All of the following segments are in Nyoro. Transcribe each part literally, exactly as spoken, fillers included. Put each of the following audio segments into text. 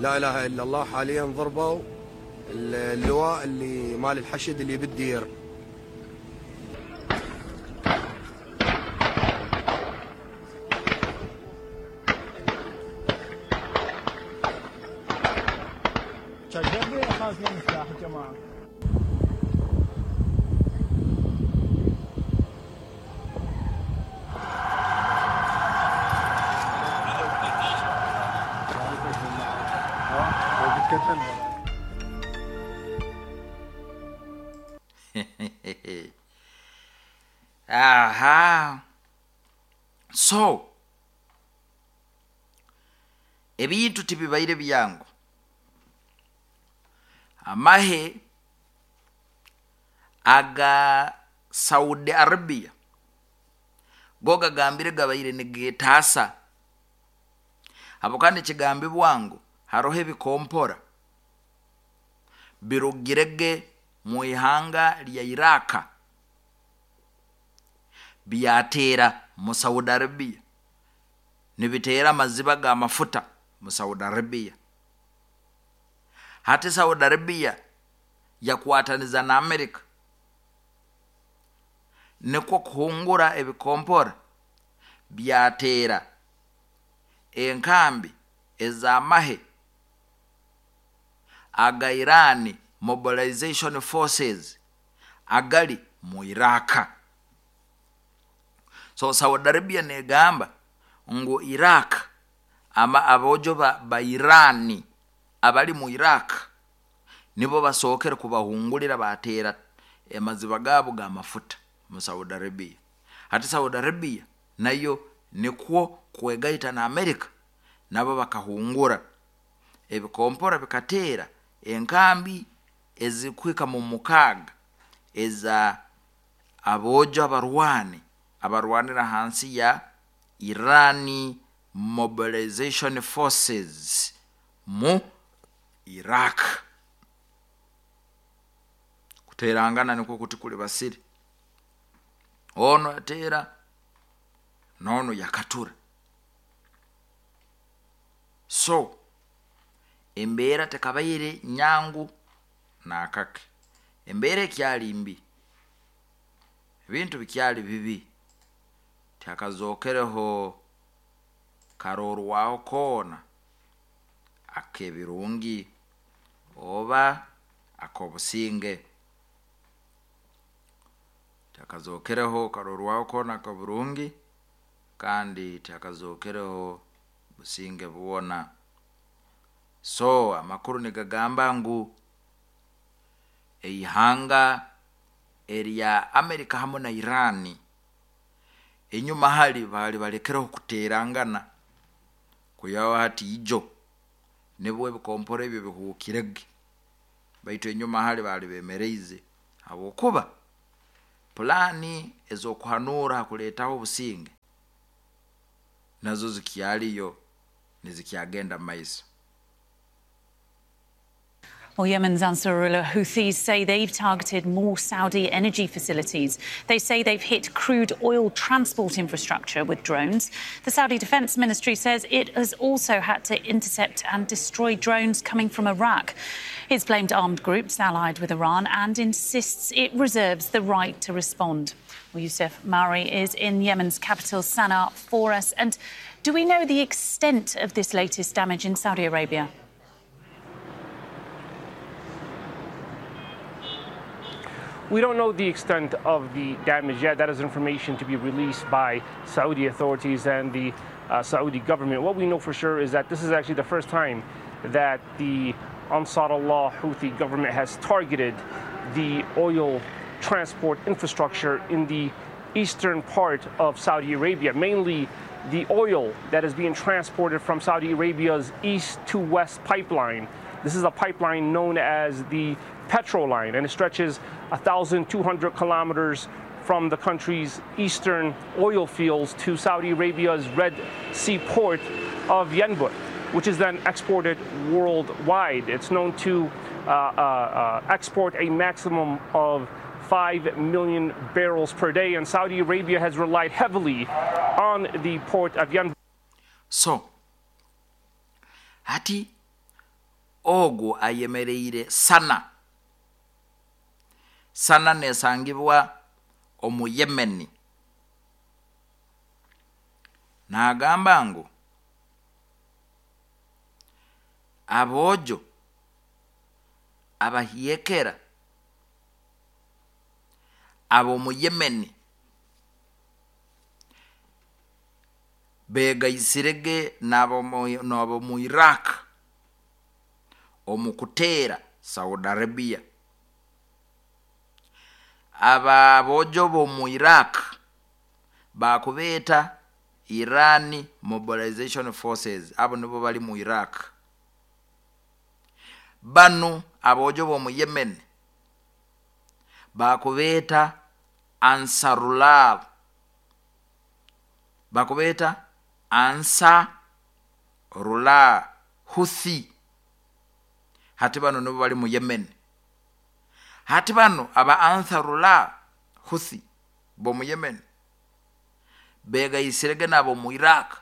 لا اله الا الله. حاليا ضربوا اللواء اللي مال الحشد اللي بالدير. Aha, so ebintu tibibaire byangu. Amahe aga Saudi Arabia go gagambire gabaire nigetasa abo, kandi kigambibwa ngu haroho ebikompora birugirege mu ihanga lya Iraka byatera mu Saudi Arabia, nibitera amaziba ga mafuta mu Saudi Arabia. Hati Saudi Arabia yakwataniza na Amerika nikwo kuhungura ebikompora byatera enkambi ez'amahe aga Irani Mobilization Forces agali mu Iraka. So Saudi Arabia negamba ngu Iraq ama abojo ba, ba Irani abali mu Iraq nibo basookere kubahungulira batera emaziba gabo ga mafuta mu Saudi Arabia. Hati Saudi Arabia nayo nikwo kwegaita na Amerika, nabo bakahungura ebikompora bikateera enkambi ezikwika mu mukaaga eza abojo abarwani abarwanira hansi ya Irani Mobilization Forces mu Iraq. Kuterangana nikwo kuti kuli basiri, ono atera nono yakatura. So embeera tekabaire nyangu nakake, embeera ekyali mbi, ebintu bikyali bibi, tyakazokereho karorwaho koona akebirungi oba akobusinge. Tyakazokereho karorwaho koona akobirungi kandi tyakazokereho businge bwona. So amakuru nigagamba ngu eihanga erya Amerika hamwe na Irani enyuma hali bali balekereho kuterangana, kuyaho hati ijo nibwo ebikompora ebyo bihuukirege, baitu enyuma hali bali bemereize habwokuba pulani ez'okuhanura hakuleetaho obusinge nazo zikyaliyo nizikyagenda mu maiso. Well, Yemen's Ansarullah Houthis say they've targeted more Saudi energy facilities. They say they've hit crude oil transport infrastructure with drones. The Saudi Defense Ministry says it has also had to intercept and destroy drones coming from Iraq. It's blamed armed groups allied with Iran and insists it reserves the right to respond. Well, Youssef Mawry is in Yemen's capital, Sana'a, for us. And do we know the extent of this latest damage in Saudi Arabia? We don't know the extent of the damage yet. That is information to be released by Saudi authorities and the uh, Saudi government. What we know for sure is that this is actually the first time that the Ansarullah Houthi government has targeted the oil transport infrastructure in the eastern part of Saudi Arabia, mainly the oil that is being transported from Saudi Arabia's east to west pipeline. This is a pipeline known as the Petroline, and it stretches one thousand two hundred kilometers from the country's eastern oil fields to Saudi Arabia's Red Sea port of Yanbu, which is then exported worldwide. It's known to uh, uh, uh, export a maximum of five million barrels per day, and Saudi Arabia has relied heavily on the port of Yanbu. So, hati Ogwo ayemereire Sana. Sana nesangibwa omu Yemeni. Nagamba ngu abojo abahiekera abo mu Yemeni begaisirege nabo nabo mu Iraq omukutera Saudi Arabia. Aba bojo bo mu Iraq bakubeta Iran Mobilization Forces, abo nibo bali mu Iraq. Banu abojo bo mu Yemen bakubeta Ansarullah, bakubeta Ansarullah Houthi. Hati bano nibo bali mu Yemen. Hati bano aba Ansarullah Houthi bo mu Yemen begaisirege nabo mu Iraq,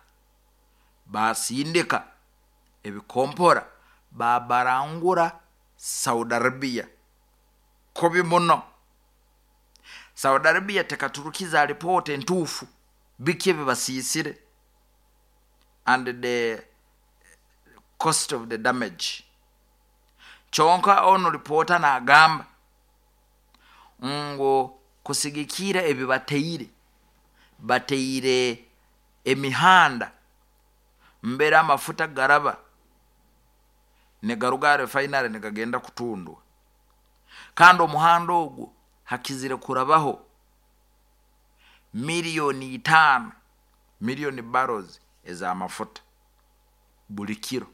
basindika ebikompora babarangura Saudi Arabia kobi muno. Saudi Arabia tekaturukiza ripoti entufu biki bibasisire and the cost of the damage. Chonka ono ripota na agamba ngo kusigikira ebibateire bateire emihanda mbere amafuta garaba negaruga refinery negagenda kutundwa, kandi omuhanda ogwo hakizire kurabaho milioni itano milioni barrels ez'amafuta buli kiro.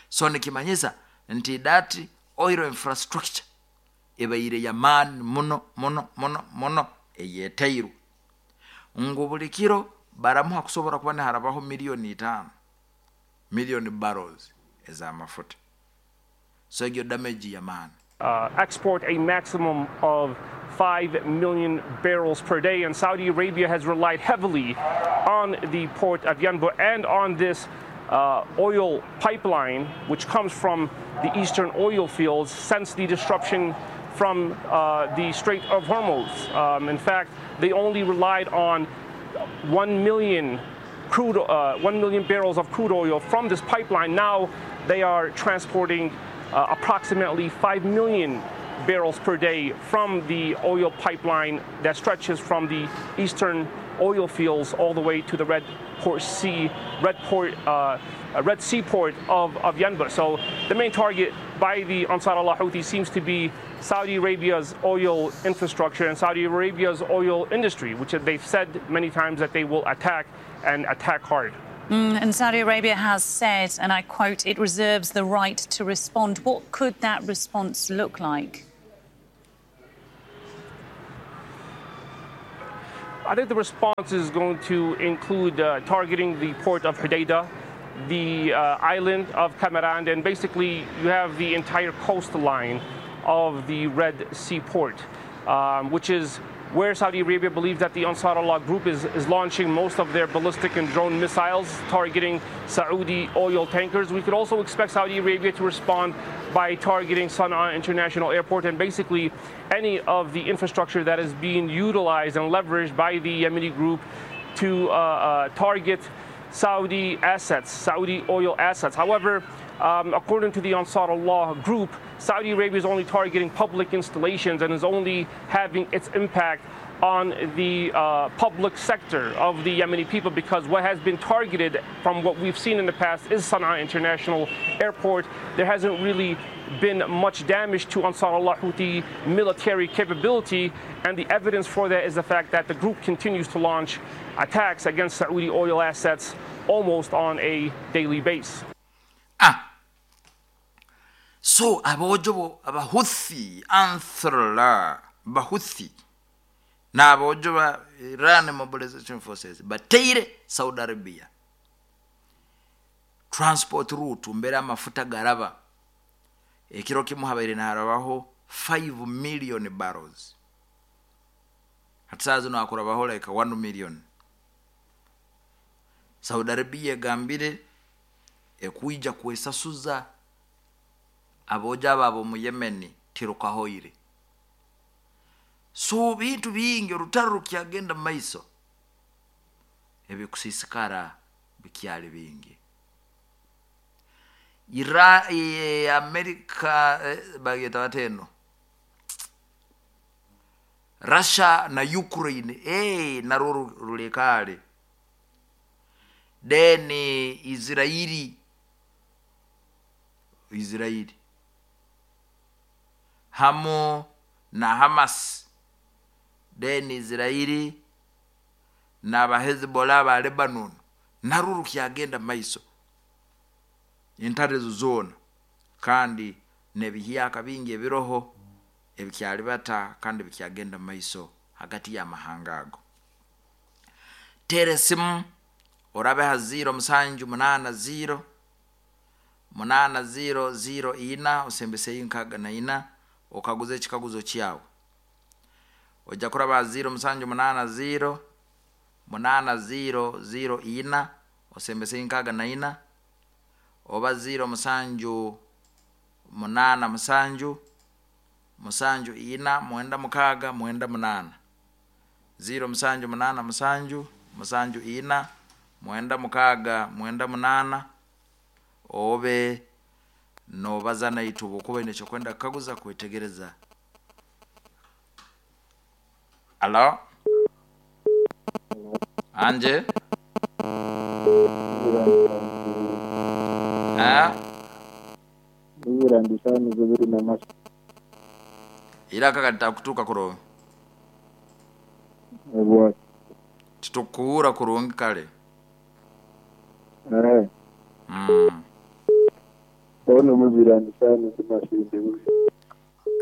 So nikimanyisa nti that oil infrastructure ebaire yamani muno muno muno muno eyetairu ngu buli kiro baramuha kusobora kuba niharabaho milioni itano milioni barrels ez'amafuta. So egyo damage yamani. Uh, export a maximum of five million barrels per day, and Saudi Arabia has relied heavily on the port of Yanbu and on this uh, oil pipeline, which comes from the eastern oil fields since the disruption from uh, the Strait of Hormuz. Um, in fact, they only relied on one million crude, uh, one million barrels of crude oil from this pipeline. Now they are transporting Uh, approximately five million barrels per day from the oil pipeline that stretches from the eastern oil fields all the way to the Red Port Sea, Red Port, uh, Red Sea port of, of Yanbu. So the main target by the Ansarullah Houthi seems to be Saudi Arabia's oil infrastructure and Saudi Arabia's oil industry, which they've said many times that they will attack and attack hard. Mm, and Saudi Arabia has said, and I quote, it reserves the right to respond. What could that response look like? I think the response is going to include uh, targeting the port of Hodeidah, the uh, island of Kamaran, and basically you have the entire coastline of the Red Sea port, um, which is where Saudi Arabia believes that the Ansarullah group is, is launching most of their ballistic and drone missiles targeting Saudi oil tankers. We could also expect Saudi Arabia to respond by targeting Sana'a International Airport and basically any of the infrastructure that is being utilized and leveraged by the Yemeni group to uh, uh, target Saudi assets, Saudi oil assets. However, um, according to the Ansarullah group, Saudi Arabia is only targeting public installations and is only having its impact on the uh, public sector of the Yemeni people, because what has been targeted from what we've seen in the past is Sana'a International Airport. There hasn't really been much damage to Ansarullah Houthi military capability, and the evidence for that is the fact that the group continues to launch attacks against Saudi oil assets almost on a daily basis. Ah. So abojo abahuthi Ansarullah bahuthi na abojo ba Iran Mobilization Forces bateire Saudi Arabia transport route mbere amafuta garaba ekiro kimu habaire naharabaho five million barrels, hatsazo nakurabaho like one million. Saudi Arabia gambire Ekwija kwesasuza aboja abo ab'omu Yemeni tirukahoire. So bintu bingi, orutaro rukyagenda mu maiso, ebikusiisikara bikyali bingi. Ira e, Amerika, eh, bageta bateno Russia na Ukraine, eh, narwo rulekale. Then Israeli Israeli hamu na Hamas, then Israeli n'aba Hezbollah ba Lebanon, narwo rukyagenda maiso. Entare ezo zoona kandi n'ebihyaka bingi ebiroho ebikyalibata kandi bikyagenda maiso hagati y'amahanga ago. Teera esimu orabe ha ziro musanju munaana ziro munaana ziro ziro ina osembeseyo nkaaga na ina, okaguza ekikaguzo kyawe. Ojja kuraba ha ziro musanju munaana ziro munaana ziro ziro ina osembeseyo nkaaga na ina, oba ziro musanju munaana musanju musanju ina mwenda mukaaga mwenda munaana, ziro musanju munaana musanju musanju ina mwenda mukaaga mwenda munaana. Obe nobaza naitwe obukuba oine ekyokwenda kukaguza, kwetegereza. Alo, anje eh? Iraka kalitakutuuka kurungi, titukuhura kurungi kale. Mm.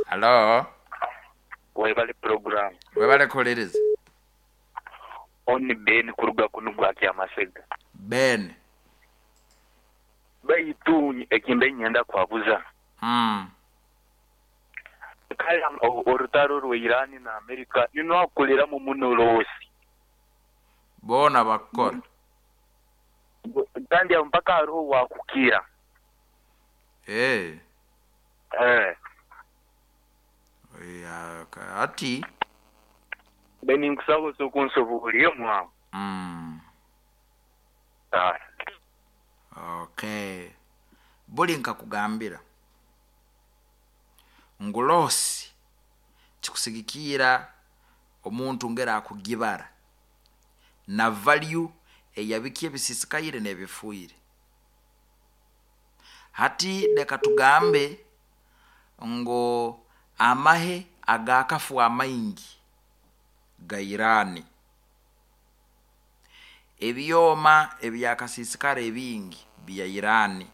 Alo. Webale program. Webale kuhuliriza. Oni Ben kuruga kunu gwa Kyamasega. Ben. Baitu ekimbe nyenda kwabuza. Mm. Kale orutaro rwa Irani na Amerika nino akuliramu muno losi. Bona bakora. Kandi mpaka hariho wakukira. Eh. Eh. Ya ati Beni nkusaba sokunsobuliye mwa. Mm. Ah. Okay. Buli nkakugambira ngu losi kikusigikira omuntu ngera akugibara na value eyabiki ebisisikaire n'ebifuire. Hati leka tugambe ngo amahe agakafu amaingi ga Irani, ebyoma ebyakasisikara ebingi bya Irani.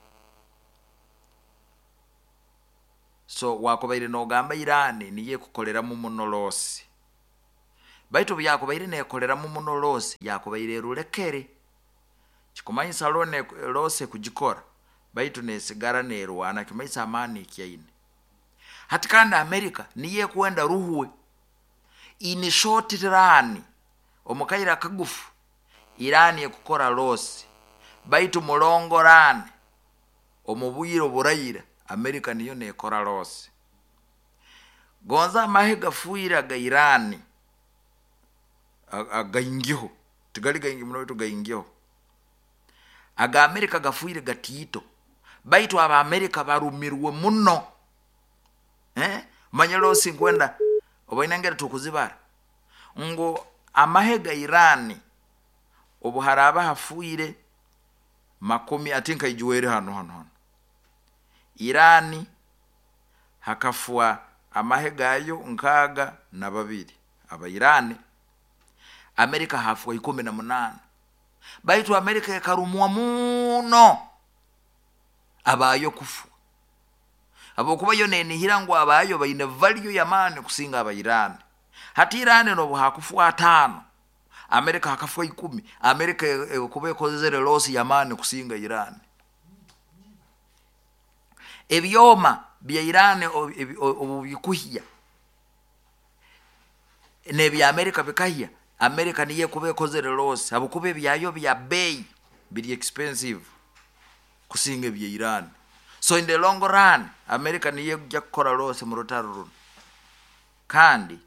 So wakubaire nogamba Irani niye kukoleramu muno losi, baitu byakubaire nekoleramu muno losi yakubaire erulekere kikumanyisa lone lose kugikora, baitu nesigara nerwana kimanyisa amani kyaine. Hati kandi Amerika niye kwenda ruhuwe in short run omukaira kagufu Irani ekukora losi, baitu mulongo run omubwiro buraira Amerika niyo nekora losi. Gonza amahe gafuira ga Irani againgiho tigali gaingi muno tugaingiho, aga Amerika gafuire gatito, baitu aba Amerika barumirwe muno. Eh, manya losi nkwenda obainangera tukuzibara ngo amahe ga Irani obuharaba hafuire makumi atinka ijuwere hano hano hano Irani hakafua amahe gayo nkaga na babiri aba Irani, Amerika hafua ikumi na munana, baitu Amerika ekarumwa muno abayo kufua abokuba yo nenihira ngo abayo baine value ya mani kusinga aba Irani. Hati Irani nobu hakufua atano, Amerika hakafua ikumi, Amerika ekuba ekozere losi ya mani kusinga Irani. Ebyoma bya Irani obu bikuhia nebya Amerika bikahia, Amerika niye kuba ekozere losi abokuba ebyayo bya bei biri expensive. Kusinga ebya Iran. So in the long run America niyo ejja kukora loss mu rutaro runo, kandi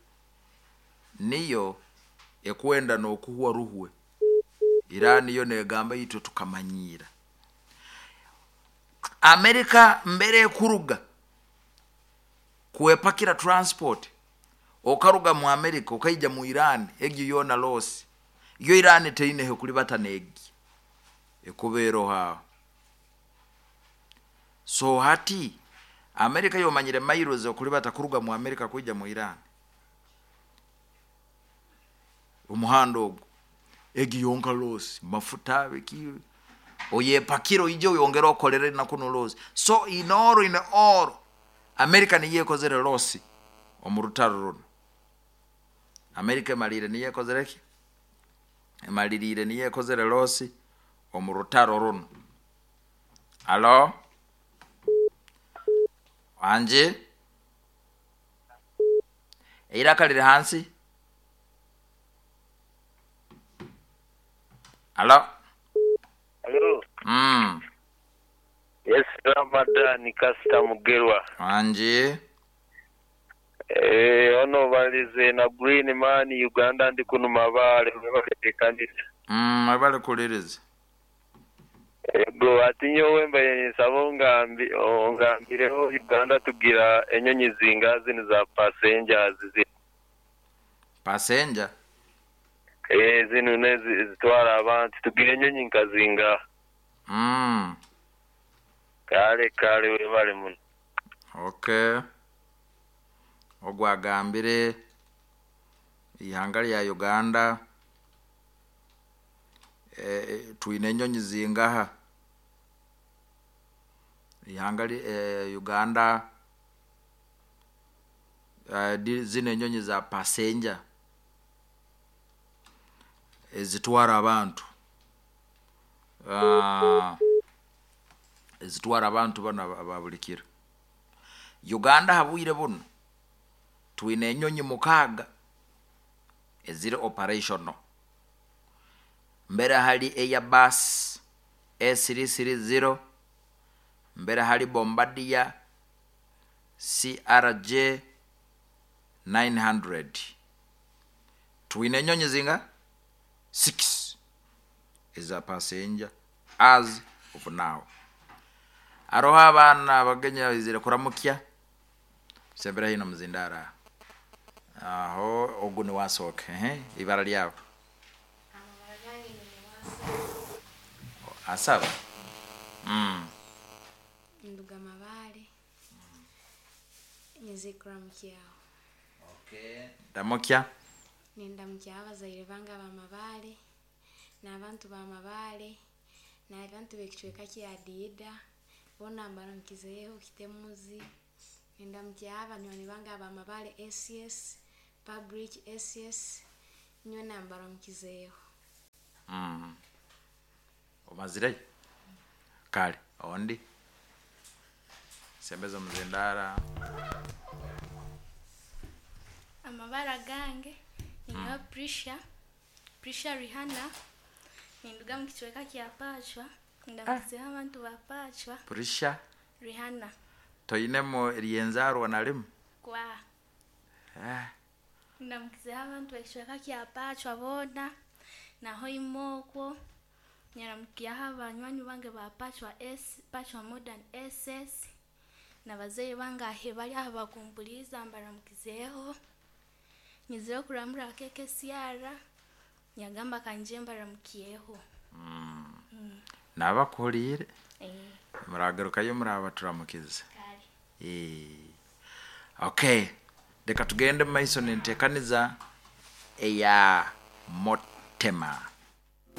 niyo ekwenda n'okuhwa ruhwe. Iran yo negamba itwe tukamanyira Amerika mbere ekuruga kuepakira transport okaruga mu Amerika okaija mu Iran, egyo yona loss. Yo Iran teine kulibata negi ekubeero hao. So hati Amerika yomanyire miles okulibata kuruga mu Amerika kuija mu Iran, omuhanda ogwo egi yonka loss, mafuta biki oyepakiro ije oyongera okolere na kuno loss. So in all in all America niye ekozere loss omu rutaro runo. Amerika emalire niye ekozere ki? Emalirire niye ekozere loss omu rutaro runo. Alo wanje eiraka liri hansi. Alo. Alo. Mm. Yes, Ramadan Kasta Mugerwa. Wanje. Eh, ono balize na Green Man Uganda ndi kuno mabale balekanisa. Mm, abale kuliriza. Ego atinyo wemba nsabo ngambi ongambireho Uganda tugira enyonyi zingazi ni za passengers zi. Passenger? Eh, zino nezi zitwara abantu tugira enyonyi nkazinga. Mm. Kale kale webale muno. Okay. Ogwagambire ihanga lya Uganda eh, twine enyonyi zingaha ihanga eh, Uganda eh, zine enyonyi za passenger ezitwara abantu uh, ezitwara abantu bano ababulikira Uganda habwire buno twine enyonyi mukaaga eziri operational. Mbere hali Airbus A three three zero, mbere hali Bombardier C R J nine hundred. Twine enyonyi zinga six is a passenger as of now. Aroha abana bagenya izire kuramukya sembera hino muzindara aho ogu ni wasoke eh ibara lyabo asaba mm nduga mabale nizikramukya. Okay, ndamukya nindamukya abazaire bange abamabale n'abantu bamabale n'abantu b'ekicweka kya Diida bona mbaramukizeeho kitemuzi. Nindamukya abanywani bange abamabale S S Public S S nyowe mbaramukizeeho. Mm. Omazire kale ondi sembeza muzindara. Amabara gange ninyo mm. Prisha Prisha Rihanna ninduga mu kicweka kya Pachwa ndamukizeho abantu ba Pachwa. Prisha Rihanna toyinemo ryenzarwa nalimu kwa eh ndamukizeho abantu b'ekicweka kya Pachwa bona naho imokwo nyaramukiyaho abanywanyi bange ba Pachwa S Pachwa Modern S S nabazeyi bange ahe bari aho bakumbuliza mbaramukizeho nyizire kuramura keke siara nyagamba kanje mbaramukiyeho. Mm. Mm. Nabakulire eh muragarukayo murabaturamukiza. Eh. Okay, reka tugende mu maiso nentekaniza eya motema.